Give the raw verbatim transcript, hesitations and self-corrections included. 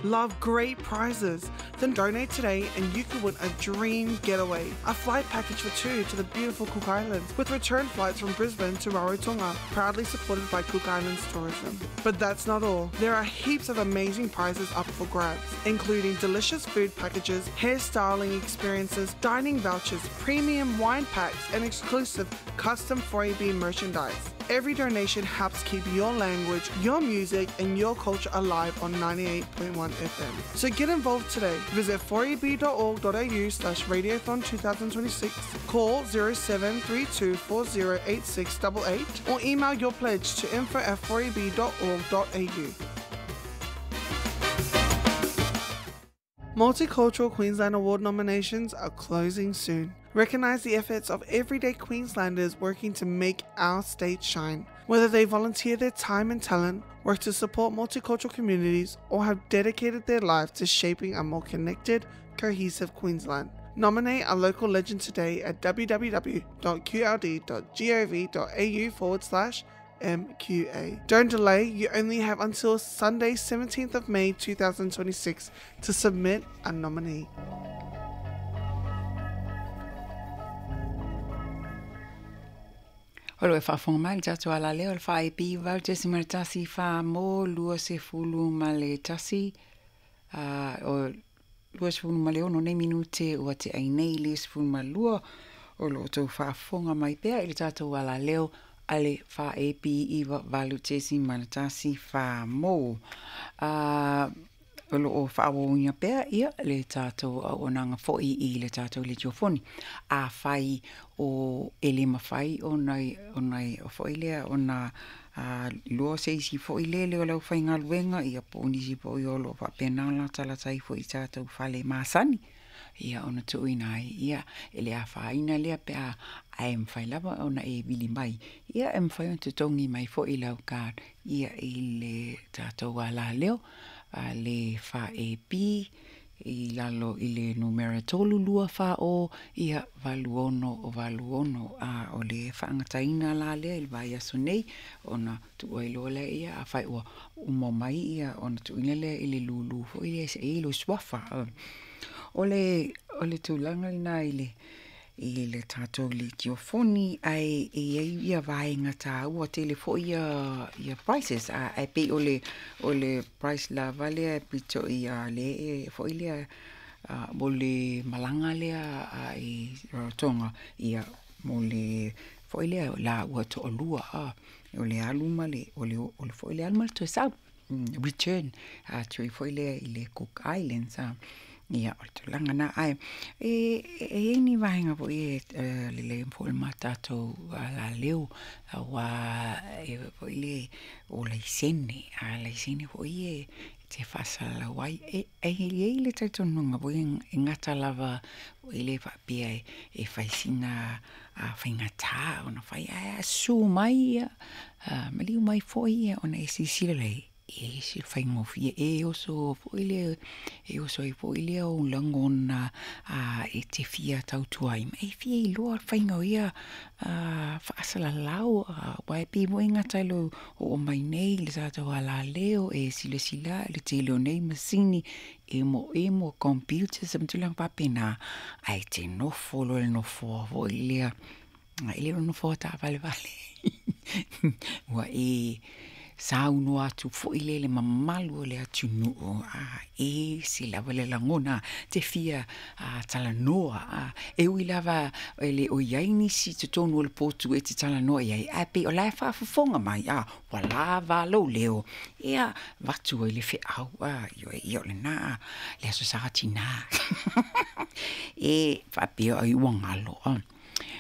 Love great prizes? Then donate today and you could win a dream getaway. A flight package for two to the beautiful Cook Islands with return flights from Brisbane to Rarotonga, proudly supported by Cook Islands Tourism. But that's not all. There are heaps of amazing prizes up for grabs, including delicious food packages, hairstyling experiences, dining vouchers, premium wine packs, and exclusive custom four A B merchandise. Every donation helps keep your language, your music, and your culture alive on ninety-eight point one F M. So get involved today. Visit four A B dot org dot A U slash radiothon two thousand twenty-six, call zero seven three two four zero eight six eight eight, or email your pledge to info at four A B dot org dot A U. Multicultural Queensland Award nominations are closing soon. Recognise the efforts of everyday Queenslanders working to make our state shine. Whether they volunteer their time and talent, work to support multicultural communities, or have dedicated their life to shaping a more connected, cohesive Queensland. Nominate a local legend today at www dot q l d dot gov dot a u forward slash M Q A. Don't delay, you only have until Sunday seventeenth of May two thousand twenty-six to submit a nominee. O lo e whaafonga mai le tātou ala leo, le wha e pi vau te si mara tasi wha mō lua se fulu ma le tasi. Uh, o lua se fulu ma le ono nei minute ua te ai nei le se fulu ma lua. O lo tau whaafonga mai pea i le tātou ala leo ale wha e pi iwa valu te si mara tasi wha mō. Uh, o lo o whaawongia pea ia le tātou o nanga foi i le tātou le tiofoni. A whai o ele mawhai o nai, o nai o foi lea o nā uh, lua se isi foi le le o lau whai ngaluenga ia po nisi po i o lo whapena la talatai foi i tātou whale masani. Ia ona tuuina ai, ia ele a whaina lea pe a ai mwhai lava ona e vili mai. Ia e mwhai on te tongi mai foi lau ka ia i le tātou a la leo. A le wha e pi i lalo i le numera tolu lua wha o ia valu ono o valu ono a o le whaangataina la lea i le vai aso nei ona tuua i loa lea ia a whai ua umo mai ia ona tuuina lea i le lulu fo i le se e lo swafa. O le, o le tūlanga lena i le i le tātou le tiofoni ai e ai ia vaenga tāua tele fo ia ia prices a ai pe o le o le price la vale pito ia le e fo i lea mo le malanga lea a i Rarotonga ia mo le fo i lea la ua to'olua a o le aluma le o le o le fo i le aluma le toe sau return a tui fo i lea i le Cook Islands a ia o le tulaga na ai e e ni vaenga foi e le le fo le matatou la leo wa e foi le o laisene a laisene foi e te fasala wai e e e le taitonunga foi e ngata lava e le faapea e e faisina a faigata ona fai a su mai ia maliu mai foi ia ona e sisila le e se whaingofia e oso foi le e oso e foi le o langona a e te fia tautua i e fia i loa whaingo ia a whaasalalau a wai pi mo inga tailo o mai nei le tātou ala leo e sila sila le te leo nei masini e mo e mo computer sa mtulang papena ai te nofo lo le nofo foi lea e le nofo ta vale vale ua e saunoa atu foi le le mamalu o le atunuu a e se lava le lagona te fia a talanoa a e ui lava e le o iai nisi totonu o le potu e te talanoa iai ae pei o la e faafofoga mai a ua lava lou leo ia vatu ai le feau a ioe ia o lenā le aso sa atinā e faapea ai ua galo a